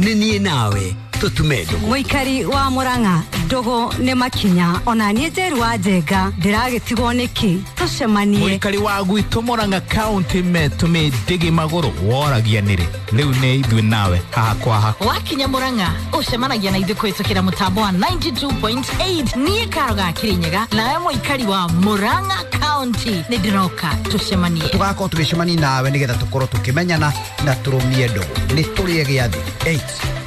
Nĩ niĩ nawe tũtume ndũgũ. Mũikari wa Murang'a, ndũgũ nĩ makinya. Ona niĩ Njeru wa Njenga ndĩragĩtigwo nĩkĩ? Tũcemanie. Mũikari wa gwitũ Murang'a County metũmĩ ndĩgĩ magũrũ woragia nĩrĩ rĩu nĩ ithuĩ nawe haha kwa haha. Wakinya Murang'a ũcemanagia na ithuĩ kũhĩtũkĩra mũtambo wa 92.8. Niĩ Karo ga Kĩrĩnyaga nawe mũikari wa Murang'a County nĩ ndĩroka tũcemanie. Tũgakorwo tũgĩcemania nawe nĩgetha tũkorwo tũkĩmenyana na tũrũmie ndũgũ. Nĩ tũrĩe gĩathĩ 8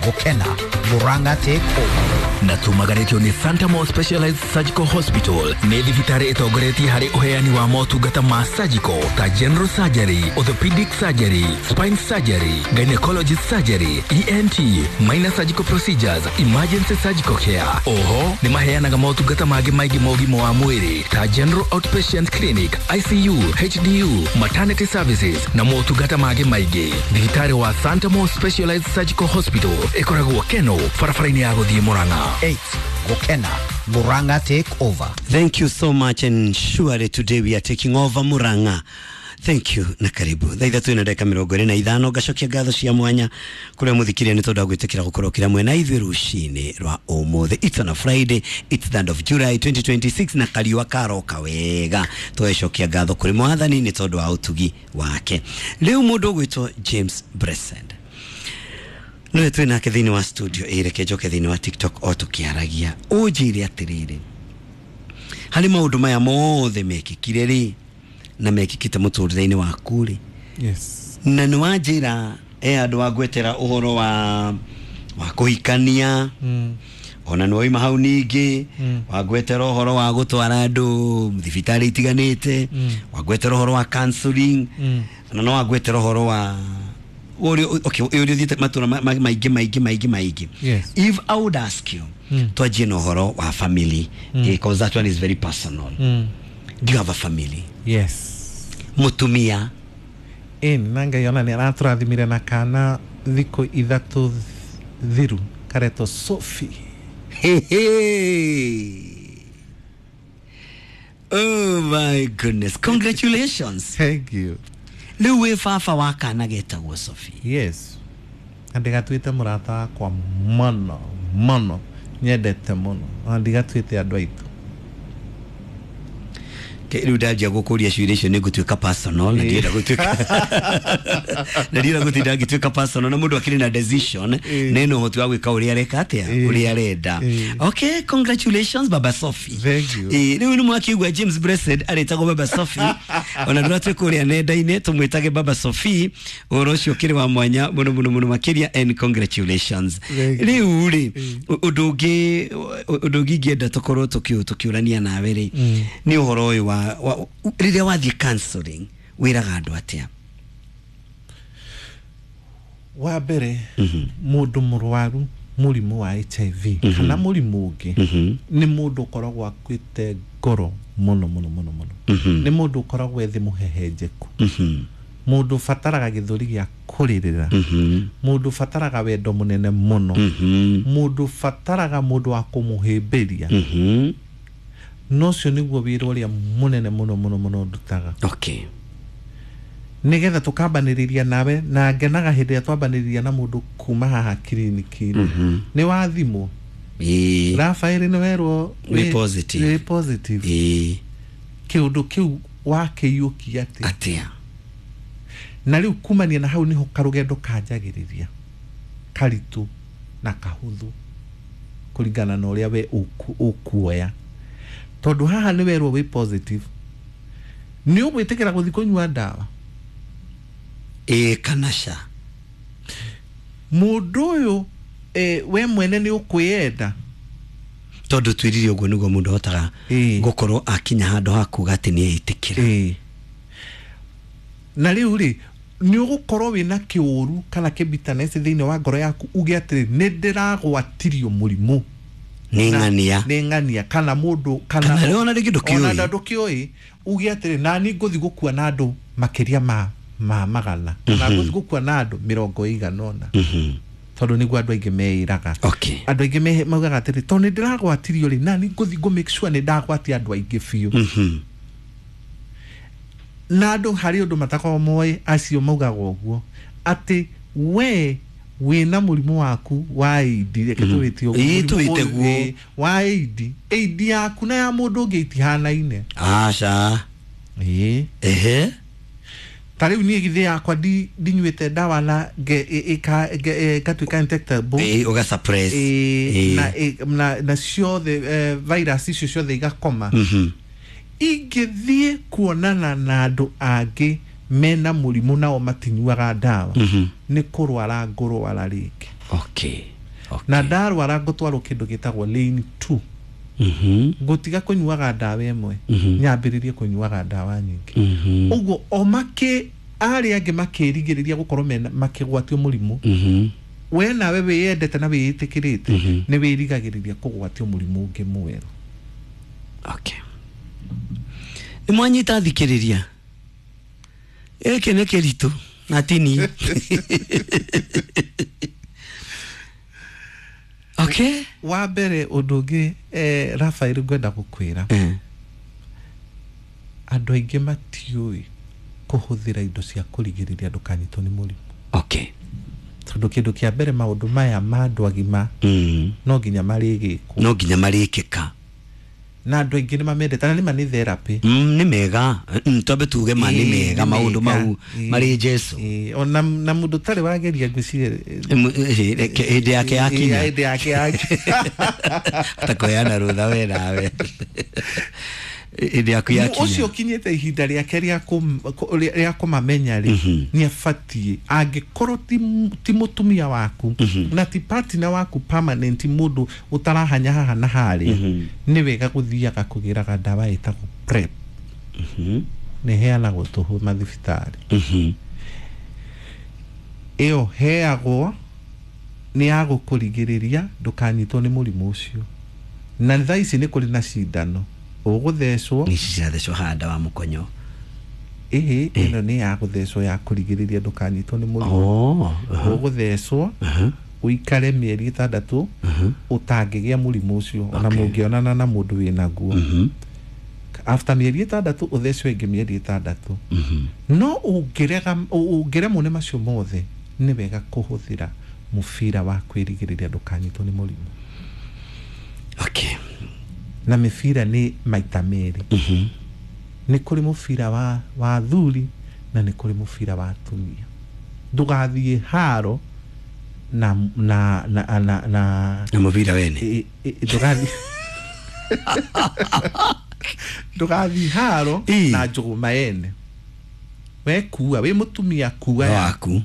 gũkena Murang'a take over. Na tumagarĩtio nĩ Santa Mo Specialized Surgical Hospital, nĩ thibitarĩ ĩtongoretie harĩ ũheani wa motungata ma surgical ta general surgery, orthopedic surgery, spine surgery, gynecology surgery, ENT, minor surgical procedures, emergency surgical care. Oho nĩ maheanaga motungata mangĩ maingĩ ma ũgima wa mwĩrĩ ta general outpatient clinic, ICU, HDU, maternity services na motungata mangĩ maingĩ. Thibitarĩ wa Santa Mo Specialized Surgical Hospital ĩkoragwo Keno, barabara-inĩ ya gũthiĩ Murang'a. 8 gũkena Murang'a take over. Thank you so much, and surely today we are taking over Murang'a. Thank you na karibu. Thaa 3 na ndagĩka 25, ngacokia ngatho cia mwanya kũrĩa mũthikĩria nĩ tondũ wa gwĩtĩkĩra gũkorwo kĩra mwena ithuĩ rũcinĩ rwa ũmũthĩ. It's on a Friday, it's the end of July 2026, na kariũa karoka wega. Tũgecokia ngatho kũrĩ mwathani nĩ tondũ wa ũtugi wake. Rĩu mũndũ ũgwĩtwo James Blessed nĩwe twĩ nake thĩinĩ wa studio. Ĩ reke njoke thĩinĩ wa TikTok o tũkĩaragia, ũnjĩre atĩrĩrĩ, harĩ maũndũ maya mothe mekĩkire rĩ na mekĩkĩte mũtũrĩre-inĩ waku rĩ, Yes. na nĩ wanjĩra e andũ wangwetera ũhoro wa kũhikania, ona nĩ wauma hau ningĩ wangwetera ũhoro wa gũtwara andũ thibitarĩ itiganĩte, wangwetera ũhoro wa counseling, na no wangwetera ũhoro wa ũrĩa, okay, ũrĩa ũthiĩte matũra maingĩ maingĩ maingĩ maingĩ. Yes. If I would ask you, twanjie na ũhoro wa family, because that one is very personal. Do you have a family? Yes. Mũtumia? Ĩni, na Ngai ona nĩ aratũrathimire na kana thikũ 3 thiru karetwo Sophie. Hey, hey. Oh my goodness. Congratulations. Thank you. Rĩu wĩ baba wa kana getagwo Sophie. Yes, na ndĩgatuĩte mũrata wakwa mũno mũno, nyendete mũno, ona ndigatuĩte andũ aitũ. Rĩu ndanjia gũkũria ciũria icio nĩ ngũtuĩka personal, na ndienda gũtuĩka na ndienda gũtinda ngĩtuĩka personal, na mũndũ akĩrĩ na decision na ena ũhoti wa gwĩka ũrĩa areka atĩa, ũrĩa arenda. Okay, congratulations, Baba Sophie. Thank you. Rĩu nĩ mwakĩigua James Blessed arĩtagwo Baba Sophie, ona ndũratwĩ kũrĩa nenda-inĩ tũmwĩtage Baba Sophie. Ũhoro ũcio ũkĩrĩ wa mwanya mũno mũno mũno makĩria, and congratulations. Thank you. Rĩu rĩ, ũndũ ũngĩ ingĩenda tũkorwo tũkĩũrania nawe rĩ, nĩ ũhoro ũyũ wa rĩrĩa wathiĩ counseling, wĩraga andũ atĩa? Wa mbere, mũndũ mũrwaru mũrimũ wa HIV kana mũrimũ ũngĩ nĩ mũndũ ũkoragwo akuĩte ngoro mũno mũno mũno mũno. Nĩ mũndũ ũkoragwo ethĩ mũhehenjeku, mũndũ ũbataraga gĩthũri gĩa kũrĩrĩra, mũndũ ũbataraga wendo mũnene mũno, mũndũ ũbataraga mũndũ wa kũmũhĩmbĩria. No ũcio nĩguo wĩra ũrĩa mũnene mũno mũno mũno ndutaga, nĩgetha tũkambanĩrĩria nawe, na ngenaga hĩndĩ ĩrĩa twambanĩrĩria na mũndũ kuma haha kiriniki-inĩ. Nĩ wathimwo? Ĩĩ. Rafael, nĩ werwo Wĩ positive. Wĩ positive. Kĩũndũ kĩu wakĩiyũkia atĩa? Atĩa? Na rĩu kumania na hau nĩho karũgendo kanjagĩrĩria karitũ na kahũthũ, kũringana na ũrĩa we ũkuoya, tondũ haha nĩ werwo wĩ positive, nĩ ũgwĩtĩkĩra gũthiĩ kũnyua ndawa? Ĩĩ kana ca? Mũndũ ũyũ, we mwene nĩ ũkwĩyenda? Tondũ twĩrire ũguo nĩguo mũndũ ahotaga gũkorwo akinya handũ ha kuga atĩ nĩ etĩkĩra. Na rĩu rĩ, nĩ ũgũkorwo wĩna kĩũru kana kĩbitanesi thĩinĩ wa ngoro yaku, uge atĩrĩ, nĩ ndĩragwatirio mũrimũ Nĩ ng'ania. Nĩ ng'ania kana mũndũ kana Kana rĩu ona rĩngĩ ndũkĩũĩ. Ona ndũkĩũĩ, uge atĩrĩ, nani ngũthi gũkua na andũ makĩria ma 100, kana ngũthi gũkua na andũ 80, tondũ nĩguo andũ aingĩ meĩraga. Andũ aingĩ maugaga atĩrĩ, tondũ nĩ ndĩragwatirio rĩ, nani ngũthi ngũ make sure nĩ ndagwatia andũ aingĩ biũ. Na andũ harĩ ũndũ matakoragwo moĩ, acio maugaga ũguo, atĩ we Wĩna mũrimũ waku wa AID, reke tũwĩte ũguo, Ĩĩ, mũrimũ tũwĩte ũyũ, guo. ĩĩ, wa AID, AID yaku na ya mũndũ ũngĩ itihanaine. Aca. Ĩĩ. Ehe. Ta rĩu niĩ githĩ yakwa ndinyuĩte ndawa na ngatuĩka infectable. Ĩĩ, ũga suppress. Ĩĩ, Ĩĩ. na, na ciothe virus icio ciothe igakoma. Ingĩthiĩ kuonana na andũ angĩ mena mũrimũ nao matinyuaga ndawa, nĩ kũrwara ngũrwara rĩngĩ. Okay. Okay. Na ndarwara ngũtwarwo kĩndũ gĩtagwo lane 2. Ngũtiga kũnyuaga ndawa ĩmwe, nyambĩrĩrie kũnyuaga ndawa nyingĩ. Ũguo o makĩ arĩa angĩ makĩrigĩrĩria gũkorwo mena makĩgwatio mũrimũ, we nawe wĩyendete na wĩĩtĩkĩrĩte, nĩ wĩrigagĩrĩria kũgwatio mũrimũ ũngĩ mwerũ. Okay. Nĩ mwanyita thikĩrĩria, gĩkĩ nĩ kĩritũ na tini. Okay. Wa mbere, ũndũ ũngĩ, Rafael, ngwenda gũkwĩra, andũ aingĩ matiũĩ kũhũthĩra indo cia kũrigĩrĩria ndũkanyitwo nĩ mũrimũ. Okay. Tondũ kĩndũ kĩa mbere, maũndũ maya ma andũ agima no nginya marĩgĩkwo. No nginya marĩkĩka. Na andũ aingĩ nĩ mamendete, na nĩma nĩ therapy. Nĩ mega. Twambe tuge ma nĩ Ĩĩ, mega nĩ maũndũ mega. mau Ĩĩ. marĩ Jesu. Ĩĩ, ona na mũndũ ũtarĩ wageria, ngwĩciria Hĩndĩ yake yakinya. Hĩndĩ yake yakinya. Takuheana rũtha we nawe hĩndĩ yaku yakinya. Ũcio ũkinyĩte ihinda rĩake rĩa kũmamenya rĩ, nĩ abatiĩ, angĩkorwo ti mũtumia waku na ti partner waku permanent, mũndũ ũtarahanya haha na harĩa, nĩ wega gũthiaga kũgĩraga ndawa ĩtagwo PrEP. Nĩ ĩheanagwo tũhũ mathibitarĩ. Ĩyo heagwo nĩ ya gũkũrigĩrĩria ndũkanyitwo nĩ mũrimũ ũcio. Na thaa ici nĩ kũrĩ na cindano ũgũthecwo. Nĩ ici cirathecwo haha, ndawa mũkonyo? Ĩhĩ, ĩno nĩ ya gũthecwo ya kũrigĩrĩria ndũkanyitwo nĩ mũrimũ. Oh, aha. Ũgũthecwo ũikare mĩeri 6 ũtangĩgĩa mũrimũ ũcio ona mũngĩonana na mũndũ wĩnaguo. After mĩeri 6 ũthecwo ĩngĩ mĩeri 6. No ũngĩrega, ũngĩremwo nĩ macio mothe, nĩ wega kũhũthĩra mũbira wa kwĩrigĩrĩria ndũkanyitwo nĩ mũrimũ. Okay. Na mĩbira nĩ maita merĩ. Nĩ kũrĩ mũbira wa athuri na nĩ kũrĩ mũbira wa atumia. Ndũgathiĩ haro na na na na na Na mũbira wene. Ndũgathiĩ haro na njũgũma ene. We kua wĩ mũtumia, kua waku.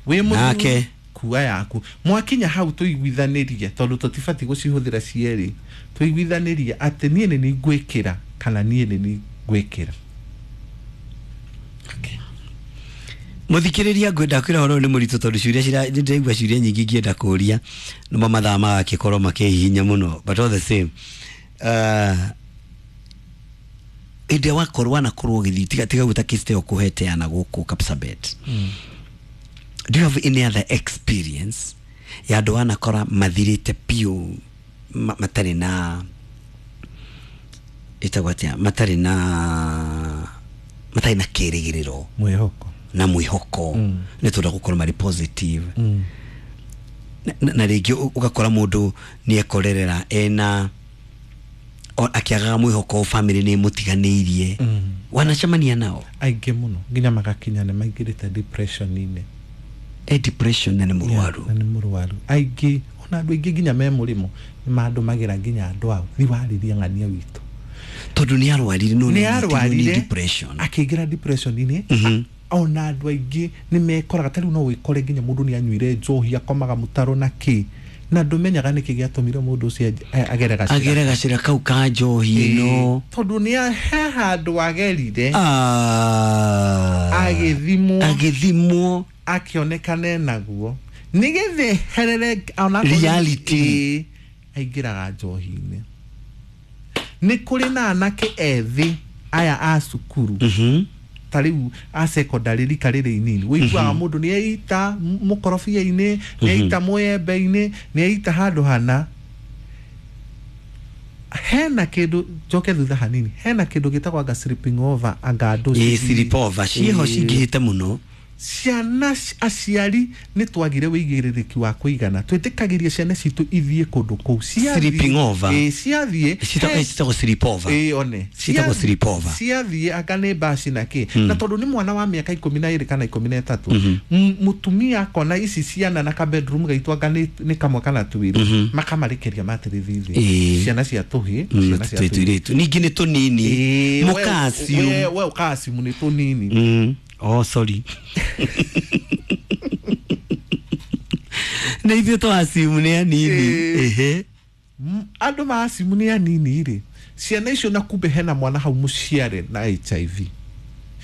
Wĩ mũthuri, Nake. kua yaku. Mwakinya hau tũiguithanĩrie, tondũ tũtibatiĩ gũcihũthĩra cierĩ, tũiguithanĩrie atĩ niĩ nĩ nĩ ngwĩkĩra kana niĩ nĩ nĩ ngwĩkĩra. Muthikiriria, ngwenda kwira horo ni mũritũ tondũ ciũria cira nĩ ndĩraigua ciũria nyingĩ ingĩenda kũria, no mathaa magakĩkorwo makĩhihinya mũno. But all the same, hĩndĩ ĩrĩa wakorwo wanakorwo ũgĩthiĩ, tiga gwĩta kĩste ũkũheteana gũkũ Kapsabet, do you have any other experience ya andũ wanakora mathirĩte biũ, matarĩ na, ĩtagwo atĩa, matarĩ na kĩrĩgĩrĩro? Mwĩhoko. Na mwĩhoko, nĩ tondũ gũkorwo marĩ positive. Na rĩngĩ ũgakora mũndũ nĩ ekorerera ena akĩagaga mwĩhoko, family nĩ ĩmũtiganĩirie. Wanacemania nao? Aingĩ mũno, nginya magakinya nĩ maingĩrĩte depression-inĩ. E depression na nĩ mũrwaru? Na nĩ mũrwaru. Aingĩ, ona andũ aingĩ nginya me mũrĩmo nĩ mandũmagĩra nginya andũ ao, thi warĩria ng'ania witũ. Tondũ nĩ arwarire, no nĩ nĩ arwarire, depression. Akĩingĩra depression-inĩ. Ona andũ aingĩ nĩ mekoraga, ta rĩu no wĩkore nginya mũndũ nĩ anyuire njohi, akomaga mũtaro na kĩ, na ndũmenyaga nĩkĩ gĩatũmire mũndũ ũcio agere gacĩra. Agere gacĩra kau ka njohi ĩno. Tondũ nĩ he handũ agerire, Ah. agĩthimwo, agĩthimwo, akĩonekane naguo, nĩgetha eherere ona Reality. Ĩĩ, aingĩraga njohi-inĩ. Nĩ kũrĩ na anake ethĩ aya a cukuru, ta rĩu a secondary, rika rĩrĩ inini, wĩiguaga mũndũ nĩ eita mũkorobia-inĩ, nĩ eita mũembe-inĩ, nĩ eita handũ hana. Hena kĩndũ, njoke thutha hanini, hena kĩndũ gĩtagwo anga sleeping over, anga andũ Ĩ, sleepover ciĩho cingĩhĩte mũno. Ciana aciari nĩ twagire wĩigĩrĩrĩki wa kũigana, twĩtĩkagĩria ciana citũ ithiĩ kũndũ kũu. Sleeping over. Ciathiĩ Citagwo sleepover. Ĩĩ, one. Citagwo sleepover. Ciathiĩ anga nĩ mbaci na kĩ, na tondũ nĩ mwana wa mĩaka 12 kana 13, mũtumia akona ici ciana na ka bedroom gaitũ anga nĩ kamwe kana twĩrĩ, makamarĩkĩria matĩrĩthi thĩ, ciana cia tũhĩ, ciana cia tũirĩtu ningĩ nĩ tũnini, mũkaciu we ũkaciu nĩ tũnini. Oh, sorry. Na ithuĩ twacimu nĩ anini. Ehe. Andũ macimu nĩ anini rĩ, ciana icio na kumbe hena mwana hau mũciare na HIV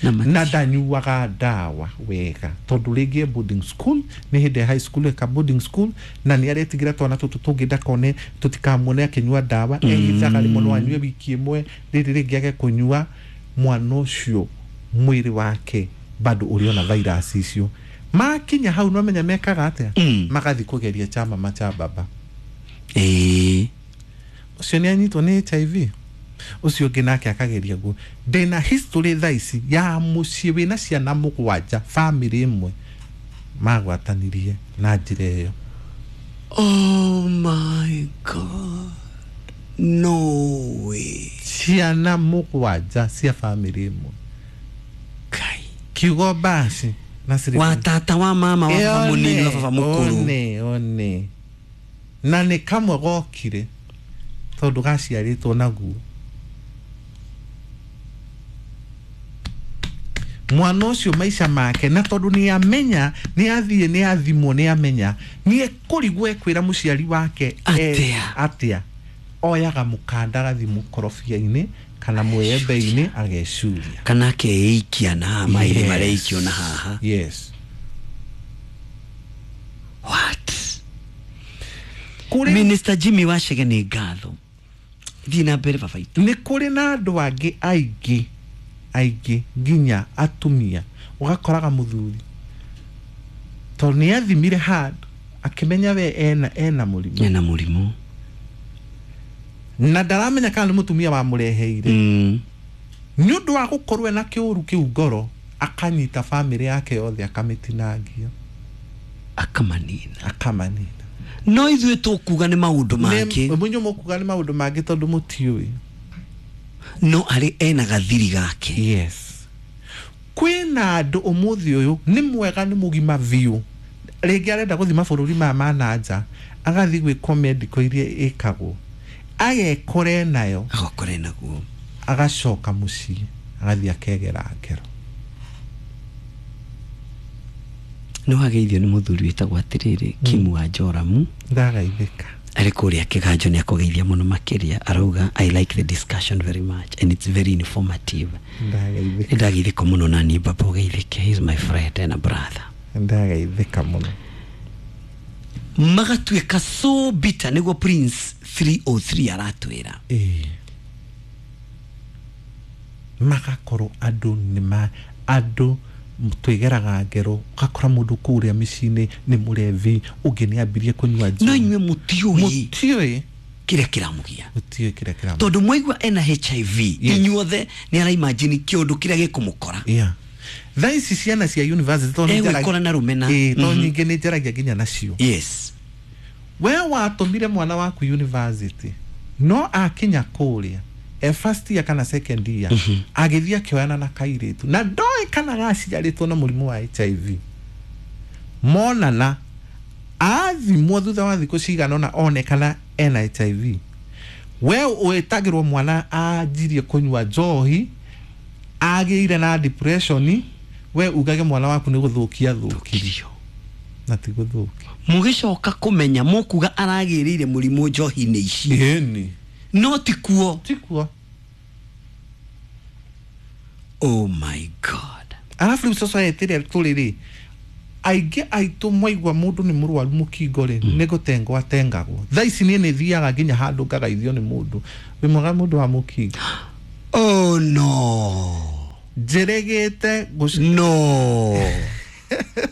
na ndanyuaga ndawa wega, tondũ rĩngĩ e boarding school, nĩ hĩndĩ ya high school eka boarding school, na nĩ aretigĩra twana tũtũ tũngĩ ndakone tũtikamuone akĩnyua ndawa. Ehithaga rĩmwe no anyue wiki ĩmwe, rĩrĩ rĩngĩ age kũnyua. Mwana ũcio mwĩrĩ wake bado ũrĩ ona virus icio. Makinya hau no menya mekaga atĩa? Magathi kũgeria cha mama cha baba. Ũcio nĩ anyitwo nĩ HIV, ũcio ũngĩ nake akageria guo. Ndĩna history thaa ici ya mũciĩ wĩna ciana 7, family ĩmwe magwatanirie na njĩra ĩyo. Oh my God, no way. Ciana 7 cia family ĩmwe. Kiugo basi na wa tata wa mama wa baba munini wa baba mukuru. One one na nĩ kamwe gokire tondũ gaciarĩtwo naguo. Mwana ũcio maica make, na tondũ nĩ amenya, nĩ athiĩ, nĩ athimwo, nĩ amenya, nĩ ekũrigwo ekwĩra mũciari wake atĩa. Oyaga mũkanda agathi mũkorobia-inĩ kana mwembe-inĩ agecuria, kana akeikia na haha maĩrĩ mareikio na haha. Yes. What? Minister Jimmy Wachege nĩ ngatho. Thiĩ na mbere baba itũ. Nĩ kũrĩ na andũ angĩ aingĩ aingĩ nginya atumia, ũgakoraga mũthuri tondũ nĩ athimire handũ akĩmenya we ena mũrimũ, ena mũrimũ, na ndaramenya kana nĩ mũtumia wamũreheire. Nĩ ũndũ wa gũkorwo ena kĩũru kĩu ngoro, akanyita family yake yothe akamĩtinangia, akamanina. No ithuĩ tũkuga nĩ maũndũ mangĩ, mũnyũ mũkuga nĩ maũndũ mangĩ tondũ mũtiũĩ. No arĩ ena gathiri gake. Yes. Kwĩna andũ ũmũthĩ ũyũ nĩ mwega, nĩ mũgima biũ, rĩngĩ arenda gũthiĩ mabũrũri maya ma na nja, agathiĩ gwĩkwo medical iria ĩkagwo, agekore nayo, agakore naguo, agacoka mũciĩ agathiĩ akegera ngero. Nĩ wageithio nĩ mũthuri wĩtagwo atĩrĩrĩ Kimu wa Joramu. Ndagaithĩka. Arĩ kũrĩa kĩganjo nĩ akũgeithia mũno makĩria, arauga I like the discussion very much and it's very informative. Ndagaithĩka. Ndagaithĩka mũno na niĩ baba ũgeithĩke, he is my friend and a brother. Ndagaithĩka mũno. Magatuĩka so bitter, nĩguo Prince 303 aratwĩra. Magakorwo andũ nĩ andũ twĩgeraga ngero, ũgakora mũndũ kũrĩa mĩciĩ-inĩ nĩ mũrevi, ũngĩ nĩ ambirie kũnyua njohi. No inyuĩ mũtiũĩ kĩrĩa kĩramũgia, mũtiũĩ kĩrĩa kĩramũgia, tondũ mwaigua ena HIV inyuothe nĩ araimagine kĩũndũ kĩrĩa gĩkũmũkora. Yeah. Thaa ici ciana cia university tondũ egwĩkora na rũmena, tondũ nyingĩ nĩ njaragia nginya nacio. Yes. We watũmire mwana waku university, no akinya kũrĩa e first year kana second year, agĩthiĩ akĩoyana na kairĩtu na ndoĩ kana gaciarĩtwo na mũrimũ wa HIV. Monana athimwo thutha wa thikũ cigana ũna onekana ena HIV. We wĩtagĩrwo mwana anjirie kũnyua njohi, agĩire na depression, we ugage mwana waku nĩ gũthũkia thũkirio, na ti gũthũkia. Mũgĩcoka kũmenya mũkuga aragĩrĩire mũrimũ njohi-inĩ ici. Ĩni. No tikuo. Tikuo. Oh my God. Arabu rĩu society ĩrĩa tũrĩ rĩ, aingĩ aitũ mwaigua mũndũ nĩ mũrwaru mũkingo rĩ, nĩ gũtengwo atengagwo. Thaa ici niĩ nĩ thiaga nginya handũ ngagaithio nĩ mũndũ wĩ mwega, mũndũ wa mũkingo. Oh no. Njĩrĩgĩte no.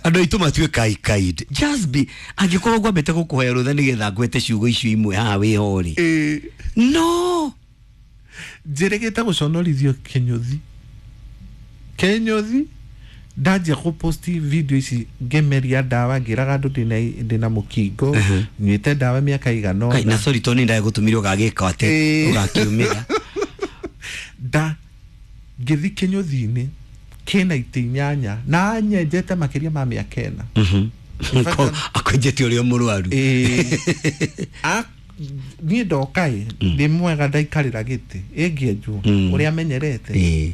Andũ aitũ matuĩka kind. Just be, angĩkorwo ngwambĩte gũkũhoya rũtha nĩgetha ngwete ciugo icio imwe haha wĩho rĩ. No. Njĩrĩgĩte gũconorithio kĩnyũthi. Kĩnyũthi Ndanjia kũposti video ici ngĩmeria ndawa ngĩraga andũ ndĩna mũkingo nyuĩte ndawa mĩaka igana Kai, na sorry to nĩ ndagũtũmire ũgagĩka atĩ ũgakiumĩra. Nda ngĩthi kĩnyũthi-inĩ kĩna itĩ 8 na anyenjete makĩria ma mĩaka 4. Akwenjete ũrĩa mũrwaru. Niĩ ndoka ĩ ndĩ mwega ndaikarĩra gĩtĩ ĩngĩenjwo ũrĩa amenyerete.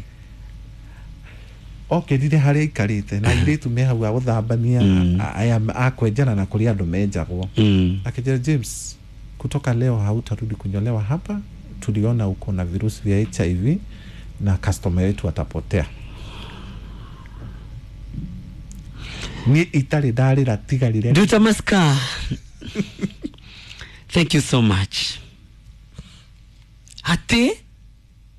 Okĩrire harĩa aikarĩte na airĩtu me hau a gũthambania aya akwenjana na kũrĩa andũ menjagwo. Akĩnjĩra, James, kutoka leo hautarudi kunyolewa hapa, tuliona uko na virusi vya HIV na customer wetu atapotea. Niĩ itarĩ ndarĩra tigarire. Nduta Maska, thank you so much. Atĩ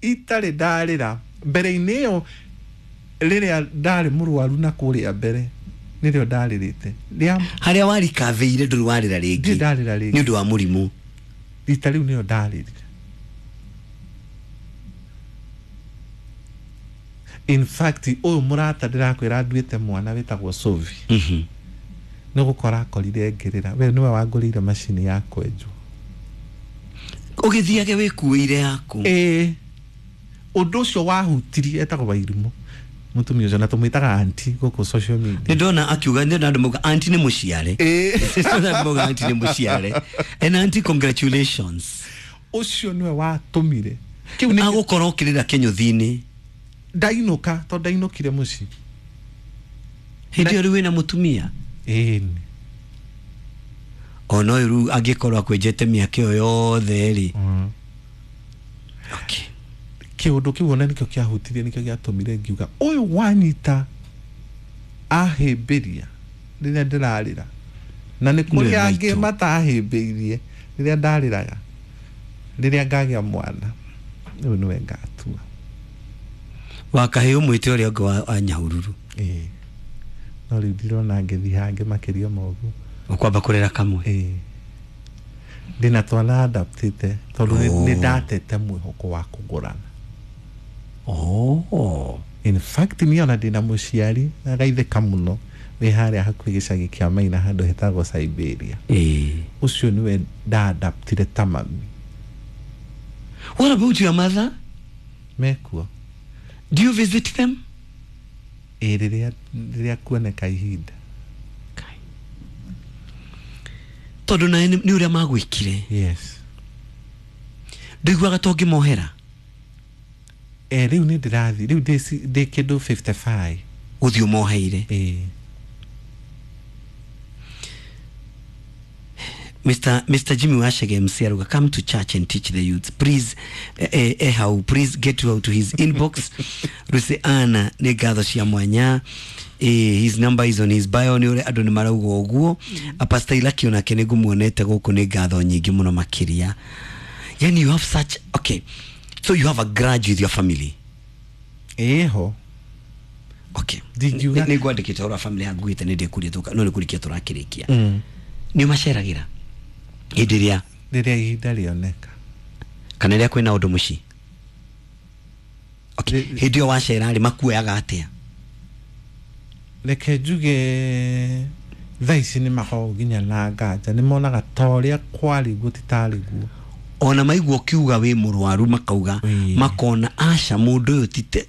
itarĩ ndarĩra mbere-inĩ ĩyo rĩrĩa ndarĩ mũrwaru na kũrĩa mbere nĩrĩo ndarĩrĩte. Harĩa warikavĩire ndũrĩ warĩra rĩngĩ. Ndirĩ ndarĩra rĩngĩ. Nĩ ũndũ wa mũrimũ. Rita rĩu nĩyo ndarĩrire. In fact ũyũ mũrata ndĩrakwĩra nduĩte mwana wĩtagwo Sovi. Nĩ gũkora akorire ngĩrĩra. We nĩwe wangũrĩire macini ya kwenjwo. Ũgĩthiage wĩkuĩire yaku. Ĩĩ. Ũndũ ũcio wahutirie etagwo Wairimũ. Mũtumia ũcio na tũmwĩtaga auntie gũkũ social media. Nĩ ndona akiuga nĩ ndona andũ mauga auntie nĩ mũciare. Nĩ ndona andũ mauga auntie nĩ mũciare. And auntie congratulations. Ũcio nĩwe watũmire. Kĩu nĩ agũkorwo ũkĩrĩra kĩnyũthi-inĩ. Ndainũka tondũ ndainũkire mũciĩ. Hĩndĩ ĩyo rĩu wĩna mũtumia? Ĩĩ. Ona ũyũ rĩu angĩkorwo akwenjete mĩaka ĩyo yothe rĩ. Okay. Kĩũndũ kĩu ona nĩkĩo kĩahutirie nĩkĩo gĩatũmire ngiuga ũyũ wanyita ahĩmbĩria rĩrĩa ndĩrarĩra na nĩ kũrĩ angĩ matahĩmbĩirie rĩrĩa ndarĩraga rĩrĩa ngagĩa mwana rĩu nĩwe ngatua. Wakahĩ ũmwĩte ũrĩa ũngĩ wa Nyahururu. Ĩĩ. No rĩu ndirona ngĩthiĩ hangĩ makĩria ma ũguo. Ũkwamba kũrera kamwe. Ĩĩ. Ndĩna twana adaptĩte tondũ nĩ ndatete mwĩhoko wa kũgũrana. In fact niĩ ona ndĩna mũciari na gaithĩka mũno wĩ harĩa hakuhĩ gĩcagi kĩa Maina handũ hetagwo Siberia. Ũcio nĩwe ndaadaptire ta mami. What about your mother? Mekuo. Do you visit them? Ĩĩ, rĩrĩa kuoneka ihinda. Tondũ nawe nĩ ũrĩa magwĩkire. Yes. Ndũiguaga ta ũngĩmohera? Rĩu nĩ ndĩrathiĩ rĩu ndĩ kĩndũ 55. Gũthiĩ ũmoheire. Ĩĩ. Mr. Jimmy Wachege MC aruga, come to church and teach the youth. Please, how, please get out to his inbox. Ruse Anna nĩ ngatho cia mwanya. His number is on his bio nĩ ũrĩa andũ nĩ marauga ũguo. Pastor Ilaki onake nĩ ngũmuonete gũkũ nĩ ngatho nyingĩ mũno makĩria. Yani you have such, okay. So you have a grudge with your family. Ĩho. Okay. Nĩ ngwandĩkĩte ũhoro wa family yaku ngugĩte nĩ ndĩkũria tũka no nĩ kũrĩkia tũrakĩrĩkia. Nĩ ũmaceragĩra hĩndĩ ĩrĩa rĩrĩa ihinda rĩoneka kana rĩrĩa kwĩna ũndũ mũciĩ? Okay. Hĩndĩ ĩyo wacera rĩ makuoyaga atĩa? Reke njuge thaa ici nĩ makoragwo nginya na nganja nĩ monaga ta ũrĩa kwarĩ guo ti tarĩ guo. Ona maigua ũkiuga wĩ mũrwaru makauga makona aca mũndũ ũyũ tite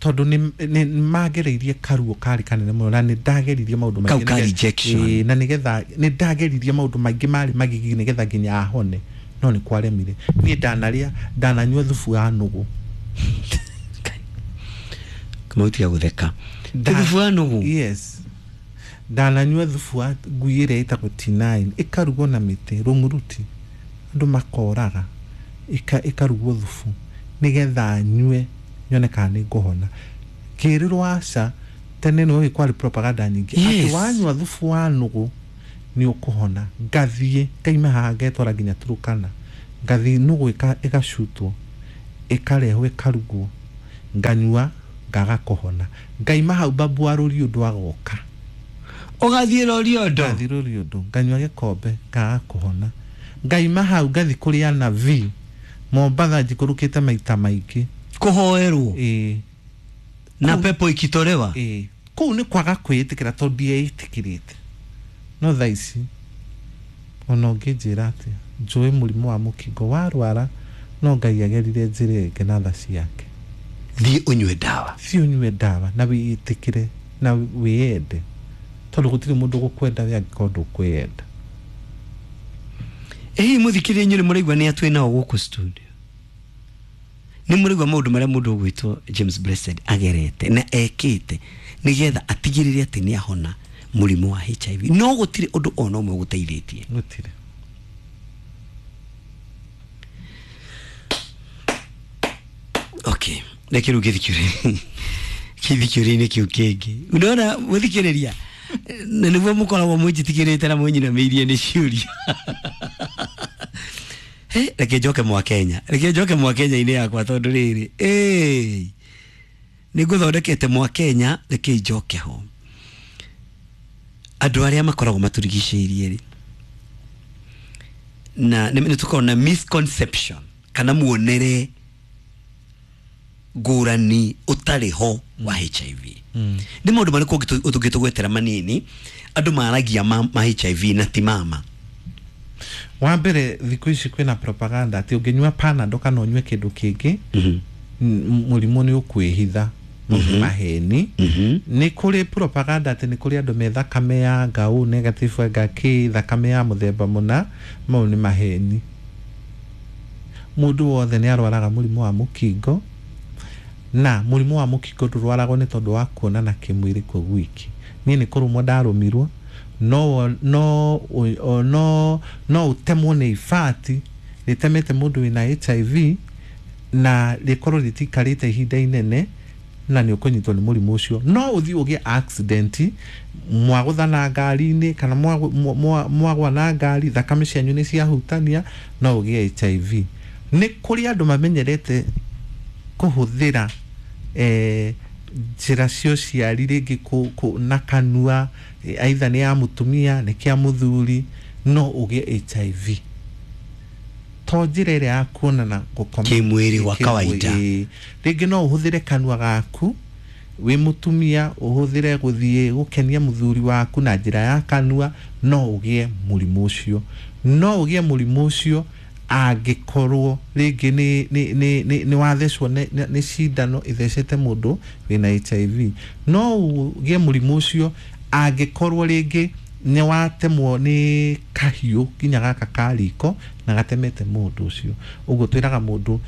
tondũ nĩ magereirie karuo karĩ kanene mũno na nĩ ndageririe maũndũ maingĩ kau ka rejection na nĩgetha nĩ ndageririe maũndũ maingĩ marĩ magigi nĩgetha nginya ahone no nĩ kwaremire. Niĩ ndanarĩa ndananyua thubu ya nũgũ. Kamau tiga gũtheka. Thubu ya nũgũ? Yes. Ndananyua thubu wa ngui ĩrĩa ĩtagwo T9 ĩkarugwo na mĩtĩ rũng'uruti andũ makoraga ĩkarugwo thubu nĩgetha nyue nyone kana nĩ ngũhona. Ngĩrĩrwo aca tene nĩ kwarĩ propaganda nyingĩ atĩ wanyua thubu wa nũgũ nĩ ũkũhona. Ngathiĩ ngaima haha ngetwara nginya Turukana ngathiĩ nũgũ ĩgacutwo ĩkarehwo ĩkarugwo nganyua ngaga kũhona. Ngaima hau babu wa Rũriũndũ agoka. Ũgathiĩ Rũriũndũ? Ngathiĩ Rũriũndũ nganyua gĩkombe ngaga kũhona. Ngaima hau ngathiĩ kũrĩa na V Mombatha njikũrũkĩte maita maingĩ kũhoerwo. Ĩĩ. Na pepo ikitolewa. Ĩĩ, kũu nĩ kwaga kwĩĩtĩkĩra tondũ ndieĩtĩkĩrĩte. No thaa ici ona ũngĩnjĩra atĩa, njũĩ mũrimũ wa mũkingo warwara, no Ngai agerire njĩra ĩngĩ na tha ciake. Thiĩ ũnyue ndawa. Thiĩ ũnyue ndawa na wĩĩtĩkĩre na wĩyende, tondũ gũtirĩ mũndũ gũkwenda we angĩkorwo ndũkwĩyenda. Ĩ mũthikĩrĩria, inyuĩ nĩ mũraigua nĩ atwĩ nao gũkũ studio, nĩ mũraigua maũndũ marĩa mũndũ ũgwĩtwo James Blessed agerete na ekĩte nĩgetha atigĩrĩre atĩ nĩ ahona mũrimũ wa HIV, no gũtirĩ ũndũ ona ũmwe ũgũteithĩtie. Gũtirĩ. Okay, reke rĩu gĩthikiũrĩ-inĩ kĩu kĩngĩ. Unaona mũthikĩrĩria, na nĩguo mũkoragwo mwĩnjitigĩrĩte na mwĩnyinamĩirie nĩ ciũria. He, reke njoke mwa Kenya, reke njoke mwa Kenya-inĩ yakwa, tondũ rĩrĩ ĩĩ nĩ ngũthondekete mwa Kenya. Reke njoke ho. Andũ arĩa makoragwo matũrigicĩirie rĩ, na nĩ tũkoragwo na misconception kana muonere ngũrani ũtarĩ ho wa HIV. Nĩ maũndũ marĩkũ ũngĩtũgwetera manini andũ maragia ma HIV na ti mama? Wa mbere, thikũ ici kwĩna propaganda atĩ ũngĩnyua Panadol kana ũnyue kĩndũ kĩngĩ, mũrimũ nĩ ũkwĩhitha. Maũndũ maheni. Nĩ kũrĩ propaganda atĩ nĩ kũrĩ andũ me thakame ya ngau negative, anga kĩ thakame ya mũthemba mũna. Mau nĩ maheni. Mũndũ wothe nĩ arwaraga mũrimũ wa mũkingo, na mũrimũ wa mũkingo ndũrwaragwo nĩ tondũ wa kuonana kĩmwĩrĩ kwa gwiki. Niĩ nĩ kũrũmwo ndarũmirwo, no no o- no no ũtemwo nĩ ibati rĩtemete mũndũ wĩna HIV na rĩkorwo rĩtikarĩte ihinda inene, na nĩ ũkũnyitwo nĩ mũrimũ ũcio. No ũthiĩ ũgĩe accident, mwagũthana ngari-inĩ kana mwagwa na ngari, thakame cianyu nĩ ciahutania, no ũgĩe HIV. Nĩ kũrĩ andũ mamenyerete kũhũthĩra njĩra cia ũciari, rĩngĩ na kanua, aitha nĩ ya mũtumia, nĩ kĩa mũthuri, no ũgĩe HIV. To njĩra ĩrĩa ya kuonana, gũkoma Kĩmwĩrĩ gwa kawaida. Ĩĩ. Rĩngĩ no ũhũthĩre kanua gaku wĩ mũtumia, ũhũthĩre gũthiĩ gũkenia mũthuri waku na njĩra ya kanua, no ũgĩe mũrimũ ũcio. No ũgĩe mũrimũ ũcio angĩkorwo rĩngĩ nĩ wathecwo nĩ cindano ĩthecete mũndũ wĩna HIV. No ũgĩe mũrimũ ũcio angĩkorwo rĩngĩ nĩ watemwo nĩ kahiũ nginya gaka ka riko na gatemete mũndũ ũcio. Ũguo twĩraga mũndũ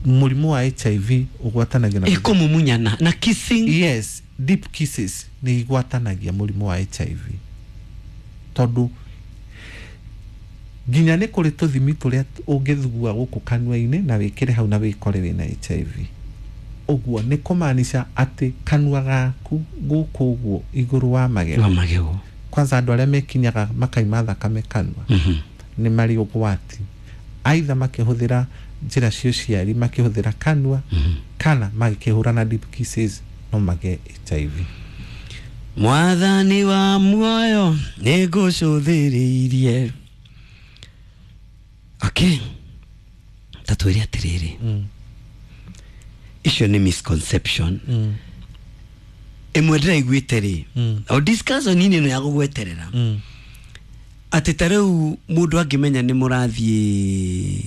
mũrimũ wa HIV ũgwatanagia na Ĩkũmumunyana na kissing. Yes, deep kisses nĩ igwatanagia mũrimũ wa HIV, tondũ nginya nĩ kũrĩ tũthimi tũrĩa ũngĩthugua gũkũ kanua-inĩ na wĩkĩre hau na wĩkore wĩna HIV. Ũguo nĩ kũmaanisha atĩ kanua gaku gũkũ ũguo igũrũ wa magego, wa magego, kwanza andũ arĩa mekinyaga makaima thakame kanua, nĩ marĩ ũgwati, aitha makĩhũthĩra njĩra cia ũciari makĩhũthĩra kanua kana magĩkĩhũrana deep kisses, no magĩe HIV. Mwathani wa muoyo, nĩ ngũcũthĩrĩirie. Okay, ta twĩre atĩrĩrĩ, icio nĩ misconception. Ĩmwe ndĩraiguĩte rĩ, o discussion inĩ ĩno ya gũgweterera, atĩ ta rĩu mũndũ angĩmenya nĩ mũrathiĩ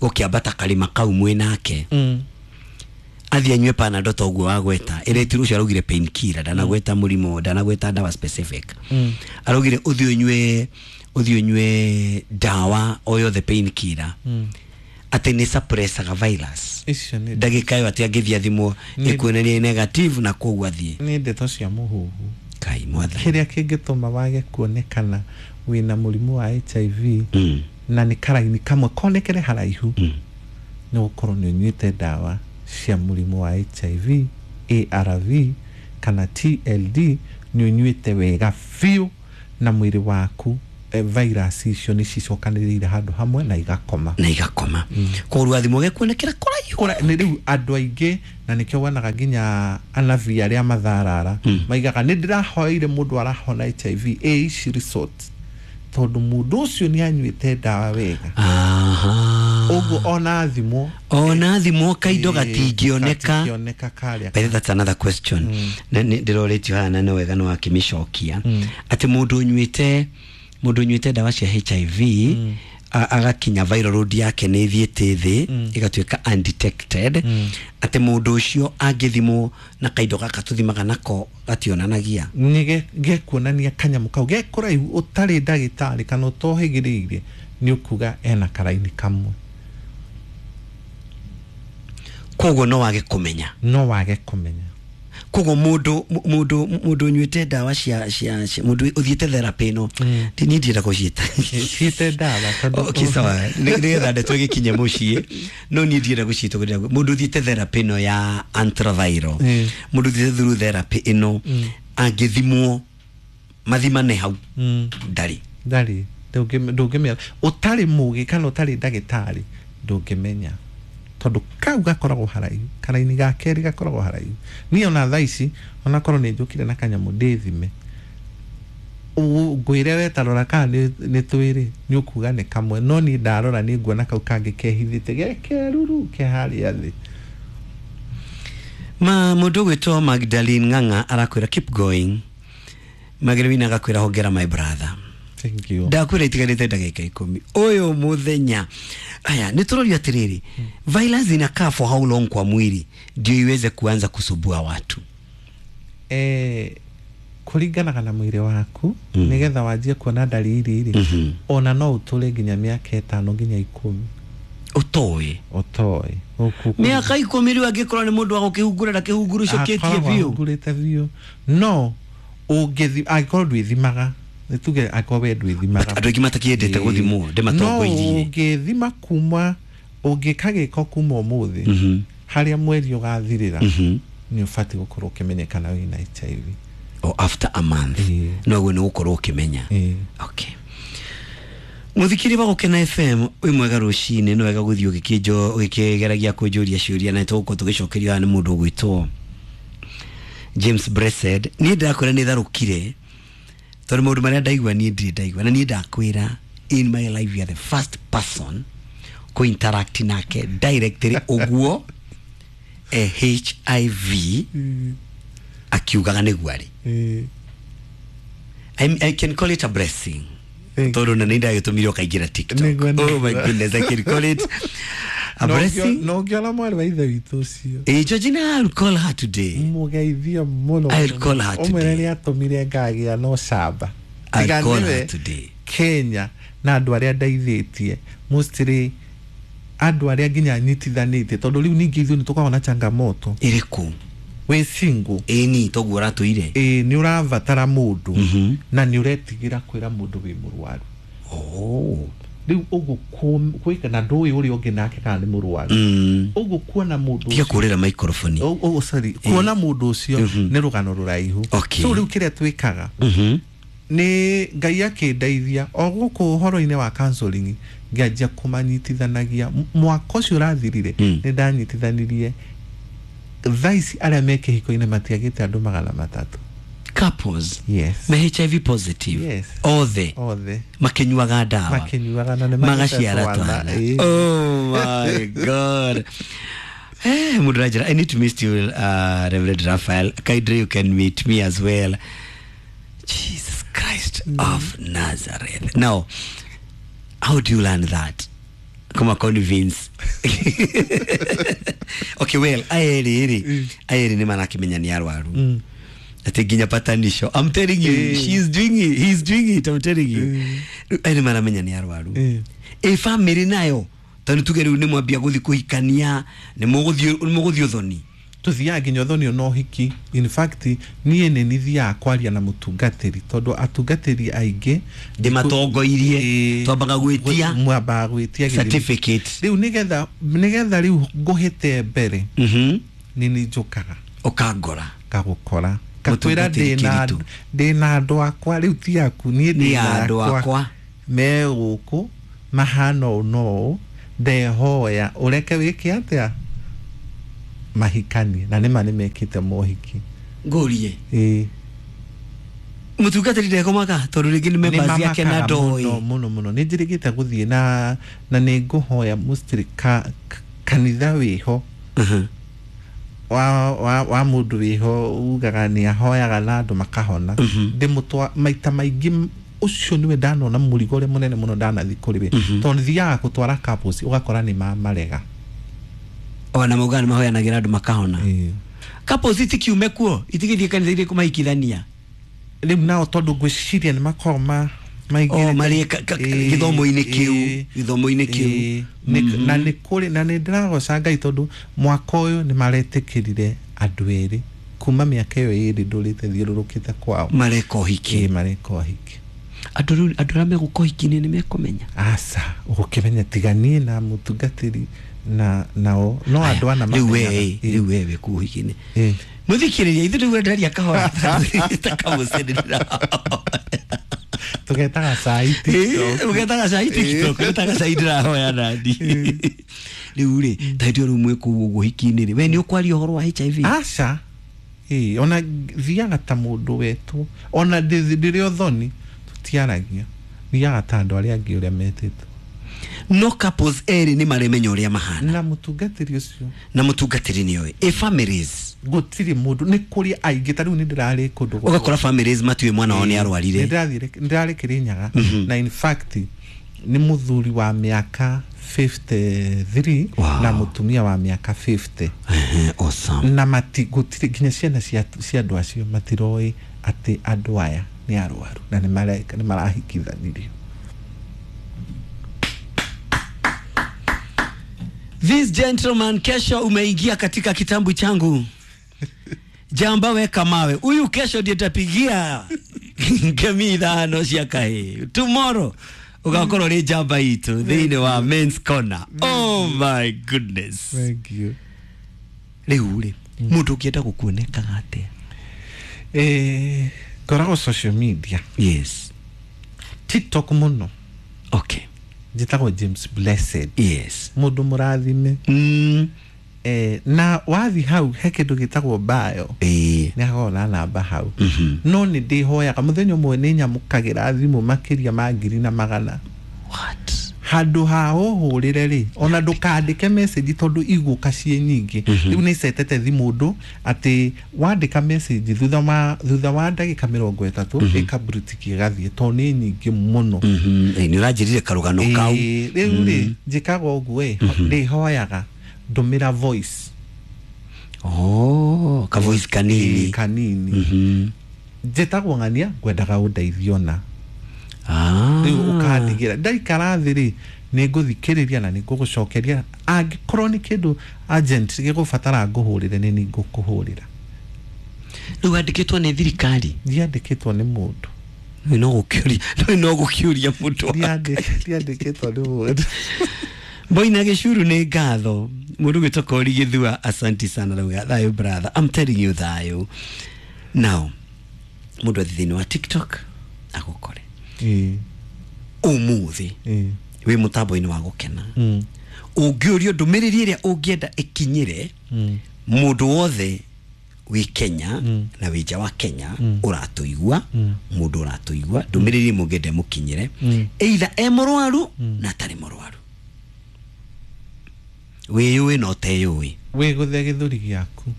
gũkĩambata karĩma kau mwĩ nake, athiĩ anyue Panadol ta ũguo wagweta, ĩrĩtirwo ũcio araugire painkiller, ndanagweta mũrimũ, ndanagweta ndawa specific. Araugire ũthiĩ ũnyue ndawa o yothe painkiller, atĩ nĩ suppressaga virus. Icio nĩ Ndagĩka ĩyo atĩ angĩthiĩ athimwo, ĩkuonania negative, na koguo athiĩ. Nĩ ndeto cia mũhuhu. Kai mwathani. Kĩrĩa kĩngĩtũma wage kuonekana wĩna mũrimũ wa HIV na nĩ karaini kamwe konekere haraihu, nĩ gũkorwo nĩ ũnyuĩte ndawa cia mũrimũ wa HIV, ARV kana TLD, nĩ ũnyuĩte wega biũ na mwĩrĩ waku, virus icio nĩ cicokanĩrĩire handũ hamwe na igakoma. Na igakoma, koguo athimwo gekuonekera kũraihu. Nĩ rĩu andũ aingĩ, na nĩkĩo wonaga nginya anabii arĩa matharara maigaga nĩ ndĩrahoeire mũndũ arahona HIV ĩ ici resort, tondũ mũndũ ũcio nĩ anyuĩte ndawa wega. Aha. Ũguo ona thimwo, ona thimwo kaindo gatingĩoneka. Gatingĩoneka karĩa. But that's another question. Na ndĩrorĩtio haha na nĩ wega nĩ wakĩmĩcokia, atĩ mũndũ ũnyuĩte ndawa cia HIV agakinya viral load yake nĩ ĩthiĩte thĩ ĩgatuĩka undetected, atĩ mũndũ ũcio angĩthimwo na kaindo gaka tũthimaga nako gationanagia. Nĩ gekuonania kanyamũ kau ge kũraihu. Ũtarĩ ndagĩtarĩ kana ũtohĩgĩrĩire, nĩ ũkuga ena karaini kamwe. Koguo no wage kũmenya. No wage kũmenya. Koguo mũndũ ũnyuĩte ndawa cia mũndũ ũthiĩte therapy ĩno, niĩ ndienda gũciĩta. Ciĩte ndawa tondũ Okay, sawa. Nĩgetha ndeto ĩgĩkinye mũciĩ, no niĩ ndienda gũciĩta ũguo. Mũndũ ũthiĩte therapy ĩno ya antiretroviral, mũndũ ũthiĩte through therapy ĩno, angĩthimwo mathimane hau, ndarĩ. Ndarĩ. Ndũngĩmenya ũtarĩ mũgĩ kana ũtarĩ ndagĩtarĩ, ndũngĩmenya tondũ kau gakoragwo haraihu, karaini ga kerĩ gakoragwo haraihu. Niĩ ona thaa ici, onakorwo nĩ njũkire na kanyamũ ndĩthime, ngwĩre we tarora kana nĩ twĩrĩ, nĩ ũkuga nĩ kamwe, no niĩ ndarora nĩ nguona kau kangĩ kehithĩte ge keruru ke harĩa thĩ. Ma mũndũ ũgwĩtwo Magdalene Ng'ang'a arakwĩra keep going. Magdalene agakwĩra hongera, my brother. Thank you. Ndakwĩra itigarĩte ndagĩka 10 ũyũ mũthenya. Aya nĩ tũrorio atĩrĩrĩ, virus inakaa for how long kwa mwili ndio iweze kuanza kusumbua watu? Kũringanaga na mwĩrĩ waku. Nĩgetha wanjie kuona ndariri rĩ, ona no ũtũre nginya mĩaka 5 nginya 10. Ũtoĩ. Ũtoĩ. Mĩaka 10 rĩu angĩkorwo nĩ mũndũ wa gũkĩhungura na kĩhunguru ũcokĩtie Akoragwo biũ. ahungurĩte biũ, no ũngĩthi angĩkorwo ndwĩthimaga, nĩ tuge angĩkorwo we ndwĩthimaga. Andũ aingĩ matakĩendete gũthimwo, ndĩmatongoirie. No ũngĩthima kuma ũngĩka gĩko kuma ũmũthĩ, harĩa mweri ũgathirĩra, nĩ ũbatiĩ gũkorwo ũkĩmenyekana wĩna HIV. O after a month? Ĩĩ. Noguo nĩ gũkorwo ũkĩmenya. Ĩĩ. Okay, muthikiri wa Gukena FM, wĩ mwega rũcinĩ. Nĩ wega gũthiĩ ũgĩkĩnjo ũgĩkĩgeragia kũnjũria ciũria, na tũgũkorwo tũgĩcokerio haha nĩ mũndũ ũgwĩtwo James Blessed. Niĩ ndakwĩra nĩ tharũkire tondũ maũndũ marĩa ndaigua niĩ ndirĩ ndaigua, na niĩ ndakwĩra in my life you are the first person kũ interact nake directly ũguo, HIV akiugaga nĩguo arĩ. I can call it a blessing Thank tondũ na nĩ ndagĩtũmire ũkaingĩra TikTok. Nĩguo, Oh my nĩguo. goodness, I can call it a blessing. No ngĩona mwarĩ wa ithe witũ ũcio. Georgina, I'll call her today. Mũgeithie mũno. I'll call her ũmwĩre today. nĩ atũmire ngagĩa no camba. I'll Tiga call nĩwe her today. Kenya na andũ arĩa ndeithĩtie, mostly andũ arĩa nginya nyitithanĩtie, tondũ rĩu ningĩ ithuĩ nĩ tũkoragwo na changamoto. Ĩrĩkũ? Wĩ single. Ĩni toguo ũratũire. Ĩ nĩ ũrabatara mũndũ na nĩ ũretigĩra kwĩra mũndũ wĩ mũrwaru. Oh. Rĩu ũguo gwĩka na ndũĩ ũrĩa ũngĩ nake kana nĩ mũrwaru, ũguo kuona mũndũ Tiga kũrĩra microphone. Oh, sorry, kuona mũndũ ũcio nĩ rũgano rũraihu. So rĩu kĩrĩa twĩkaga nĩ Ngai akĩndeithia o gũkũ ũhoro-inĩ wa counseling, ngĩanjia kũmanyitithanagia. Mwaka ũcio ũrathirire, nĩ ndanyitithanirie thaa ici arĩa me kĩhiko-inĩ matiagĩte andũ 300. Couples? Yes. Me HIV positive? Yes. Othe? Othe. Makĩnyuaga ndawa? Makĩnyuaga na nĩ magaciara magĩte twana. Ĩĩ. Oh my God. Hey, mũndũ aranjĩra I need to meet you, Reverend Raphael. Kindly, you can meet me as well. Jesus Christ of Nazareth. Now, how do you learn that? Kuma convince. Okay, well, aya rĩ aya nĩ marakĩmenya nĩ arwaru, ati nginya patanisho. I'm telling you, she's doing it, he's doing it, I'm telling you. Rĩu aya nĩ maramenya nĩ arwaru. Ĩ family nayo, tondũ tuge rĩu nĩ mwambia gũthiĩ kũhikania, nĩ mũgũthiĩ ũthoni? Tuthiaga nginya ũthoni ona ũhiki. In fact, niĩ nĩ nithiaga kwaria na mũtungatĩri, tondũ atungatĩri aingĩ Ndĩmatongoirie. Twambaga gwĩtia mwambaga gwĩtia certificate. Rĩu nĩgetha rĩu ngũhĩte mbere, nĩ nĩ njũkaga. Ũkangora. Ngagũkora, ngakwĩra Mũtungatĩri Kĩritũ. Ndĩna andũ akwa rĩu, ti aku niĩ. Nĩ Ndĩna andũ akwa. Me gũkũ mahana ũũ no ũũ, ndehoya ũreke wĩke atĩa mahikanie, na nĩma nĩ mekĩte mohiki. Ngũrie. Ĩĩ. Mũtungatĩri ndekomaga tondũ rĩngĩ nĩ members yake na Nĩmamakaga ndoĩ. Mũno mũno mũno. Nĩ njĩrĩgĩte gũthiĩ na nĩ ngũhoya mũstiri kanitha wĩho wa mũndũ wĩho ugaga nĩ ahoyaga na andũ makahona. Ndĩmũtwa maita maingĩ, ũcio nĩwe ndanona mũrigo ũrĩa mũnene mũno ndanathiĩ kũrĩ we, tondũ thiaga gũtwara couples ũgakora nĩ mamarega. Ona maugaga nĩ mahoyanagĩra andũ makahona. Ĩĩ. Couples itikiume kuo, itigĩthiĩ kanitha-inĩ kũmahikithania. Rĩu nao tondũ ngwĩciria nĩ makoragwo maingĩrĩte. O, marĩ gĩthomo-inĩ kĩu, gĩthomo-inĩ kĩu. Na nĩ kũrĩ na nĩ ndĩragoca Ngai tondũ mwaka ũyũ nĩ maretĩkĩrire andũ erĩ kuma mĩaka ĩyo ĩrĩ ndũrĩte thiũrũrũkĩte kwao. Mareka ũhiki. Ĩĩ, mareka ũhiki. Andũ rĩu, andũ arĩa megũka ũhiki-inĩ nĩ mekũmenya? Aca, ũgũkĩmenya tiga niĩ na mũtungatĩri na nao no andũ ana rĩu mamenyaga. we. Ĩĩ. Rĩu we wĩ kũu ũhiki-inĩ. Ĩĩ. Mũthikĩrĩria, ithuĩ rĩu endaria kahora ta kamũcenera. Tũgetaga cai TikTok. Ũgetaga cai TikTok, ũgetaga cai ndĩrahoya nandi. Rĩu rĩ, ta hĩndĩ ĩyo rĩu mwĩ kũu ũguo ũhiki-inĩ rĩ, we nĩ ũkwaria ũhoro wa HIV? Aca. Ĩĩ, ona thiaga ta mũndũ wetwo, ona ndĩrĩ ũthoni tũtiaragia, thiaga ta andũ arĩa angĩ ũrĩa metĩtwo. No couples erĩ nĩ maremenya ũrĩa mahana? Na mũtungatĩri ũcio. Na mũtungatĩri nĩ oĩ. Ĩ families? Gũtirĩ mũndũ, nĩ kũrĩ aingĩ, ta rĩu nĩ ndĩrarĩ kũndũ Ũgakora families matiũĩ mwana wao nĩ arwarire. Nĩ ndĩrarĩ Kĩrĩnyaga, na in fact nĩ mũthuri wa mĩaka 53 na mũtumia wa mĩaka 50. Ehe, awesome. Na mati gũtirĩ nginya ciana cia andũ acio matiroĩ atĩ andũ aya nĩ arwaru na nĩ marahikithanirio. This gentleman, kesho umeingia katika kitambu changu. Jamba weka mawe. Huyu kesho ndiye tapigia ngemi 5 cia kahĩ. Tomorrow ugakorwo rĩ njamba itũ thĩinĩ wa Men's Corner. Oh my goodness. Thank you. Rĩu rĩ, mũndũ ũngĩenda gũkuonekaga atĩa? Ngoragwo social media. Yes. TikTok mũno. Okay. Njĩtagwo James Blessed. Yes. Mũndũ mũrathime. Na wathi hau he kĩndũ gĩtagwo bio. Nĩ hakoragwo na namba hau. No nĩ ndĩhoyaga mũthenya ũmwe nĩ nyamũkagĩra thimũ makĩria ma 1,100. What? Handũ ha ũhũrĩre rĩ, ona ndũkandĩke message tondũ igũka ciĩ nyingĩ. Rĩu nĩ icetete thimũ ũndũ atĩ wandĩka message thutha wa ndagĩka 30 ĩkabrutiki ĩgathiĩ tondũ nĩ nyingĩ mũno. Nĩ ũranjĩrire karũgano kau. Rĩu rĩ, njĩkaga ũguo ĩ, ndĩhoyaga ndũmĩra voice. Oh, ka voice kanini. Ĩĩ, kanini. Njĩtagwo ng'ania, ngwendaga ũndeithio na. Rĩu ũkandigĩra ndaikara thĩ rĩ, nĩ ngũthikĩrĩria na nĩ ngũgũcokeria. Angĩkorwo nĩ kĩndũ urgent gĩgũbatara ngũhũrĩre, nĩ ngũkũhũrĩra. Rĩu wandĩkĩtwo nĩ thirikari? Ndiandĩkĩtwo nĩ mũndũ. Rĩu no gũkĩũria, rĩu no gũkĩũria mũndũ wa Ndiandĩkĩtwo nĩ mũndũ. Boina gĩcuru nĩ ngatho. Mũndũ gwĩtwo Kori Gĩthua, asanti sana rauga thayũ brother. I'm telling you thayũ. Now, mũndũ athiĩ thĩinĩ wa TikTok agũkore. Ũmũthĩ wĩ mũtambo-inĩ wa gũkena. Ũngĩũrio ndũmĩrĩri ĩrĩa ũngĩenda ĩkinyĩre mũndũ wothe wĩ Kenya na wĩ nja wa Kenya ũratũigua, mũndũ ũratũigua, ndũmĩrĩri ĩmwe ũngĩenda ĩmũkinyĩre, either e mũrwaru na atarĩ mũrwaru, wĩyũĩ na ũteyũĩ. Wĩgũthe gĩthũri gĩaku,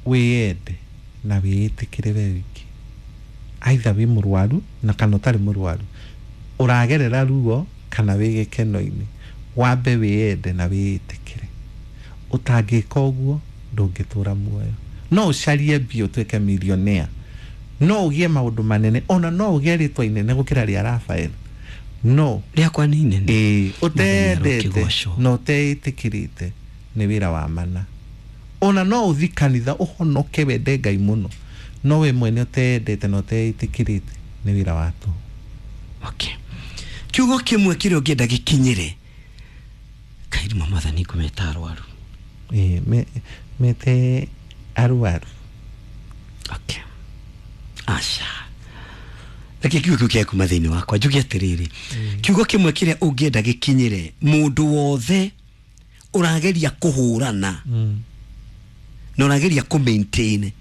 wĩyende na wĩĩtĩkĩre we wiki. Either wĩ mũrwaru na kana ũtarĩ mũrwaru, ũragerera ruo kana wĩ gĩkeno-inĩ, wambe wĩyende na wĩĩtĩkĩre. Ũtangĩka ũguo ndũngĩtũra muoyo. No ũcarie mbia ũtuĩke millionaire, no ũgĩe maũndũ manene, ona no ũgĩe rĩtwa inene gũkĩra rĩa Raphael, no rĩakwa nĩ inene. Ĩĩ, ũtendete Mũthenya na ũteĩtĩkĩrĩte nĩ wĩra wa mana. Ona no ũthi kanitha ũhonoke wende Ngai mũno, no we mwene ũtendete na ũteĩtĩkĩrĩte nĩ wĩra wa tũhũ. Okay. Kiugo kĩmwe kĩrĩa ũngĩenda gĩkinyĩre kairuma mwathani ngũmeta arwaru. Ĩĩ, mete arwaru. Okay. Aca. Reke kiugo kĩu kĩa kuma thĩinĩ wakwa njuge atĩrĩrĩ, kiugo kĩmwe kĩrĩa ũngĩenda gĩkinyĩre mũndũ wothe ũrageria kũhũrana na ũrageria kũ maintain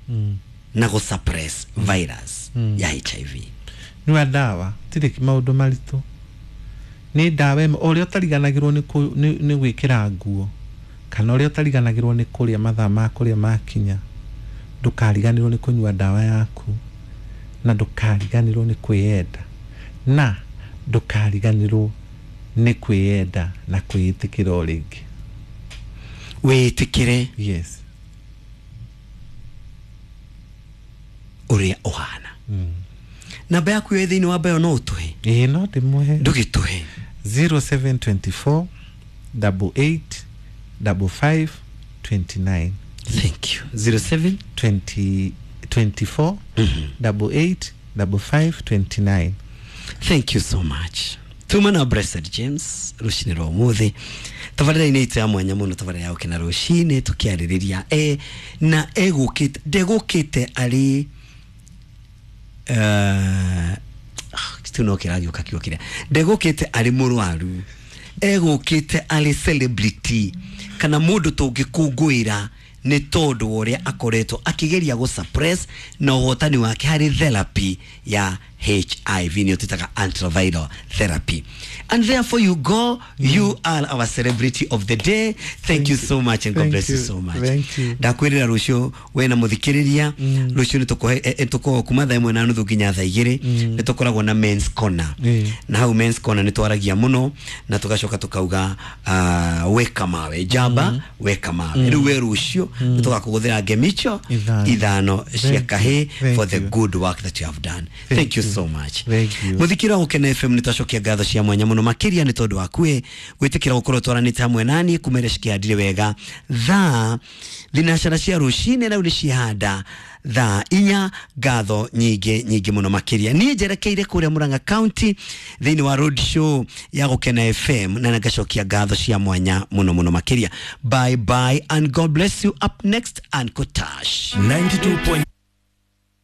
Na gũ suppress virus ya HIV. Nyua ndawa, tirĩ maũndũ maritũ, nĩ ndawa ĩmwe o ũrĩa ũtariganagĩrwo nĩ gwĩkĩra nguo, kana ũrĩa ũtariganagĩrwo nĩ kũrĩa mathaa ma kũrĩa makinya, ndũkariganĩrwo nĩ kũnyua ndawa yaku, na ndũkariganĩrwo nĩ kwĩyenda, na ndũkariganĩrwo nĩ kwĩyenda na kwĩĩtĩkĩra o rĩngĩ. Wĩtĩkĩre. Yes. Ũrĩa ũhana. Namba yaku ĩ thĩinĩ wa bayo, no ũtũhe? Ĩĩ, no ndĩmũhe. Ndũgĩtũhe. 0724 88 55 29. Thank you. 07 20 24 88 55 29. Thank you so much. Tuma na Blessed James rucinĩ rwa ũmũthĩ tabarĩra-inĩ itũ ya mwanya mũno, tabarĩra ya gũkena rũcinĩ, tũkĩarĩrĩria na egũkĩte ndegũkĩte arĩ tu no kĩragĩũka kiugo kĩrĩa ndegũkĩte arĩ mũrwaru, egũkĩte arĩ celebrity kana mũndũ tũngĩkũngũĩra nĩ tondũ wa ũrĩa akoretwo akĩgeria gũ suppress na ũhotani wake harĩ therapy ya HIV, nĩyo twĩtaga antiviral therapy. And therefore you go, you are our celebrity of the day. Thank you so much and God Thank bless you you. so much. Thank you. Ndakwĩrĩra rũciũ we na mũthikĩrĩria, rũciũ nĩ tũkoragwo kuma 1:30 nginya 2:00, nĩ tũkoragwo na men's corner. Na hau men's corner nĩ twaragia mũno na tũgacoka tũkauga weka mawe njamba, weka mawe. Rĩu we rũciũ nĩ tũgakũgũthĩra ngemicho Ithano. ithano cia Thank you. kahĩ Thank for the you. good work that you have done. Thank Thank you you. so much. Thank you. Muthikira wa Gukena FM, nĩ twacokia ngatho cia mwanya mũno makĩria nĩ tondũ wakue gwĩtĩkĩra gũkorwo twaranĩte hamwe nani kumere cikĩhandire wega thaa thinacara cia rũcinĩ, rĩu nĩ ciahanda 4:00. Ngatho nyingĩ nyingĩ mũno makĩria. Niĩ njerekeire kũrĩa Murang'a County thĩinĩ wa road show ya Gũkena FM, na ngacokia ngatho cia mwanya mũno mũno makĩria. Bye bye and God bless you. Up next, Uncle Tash. 92.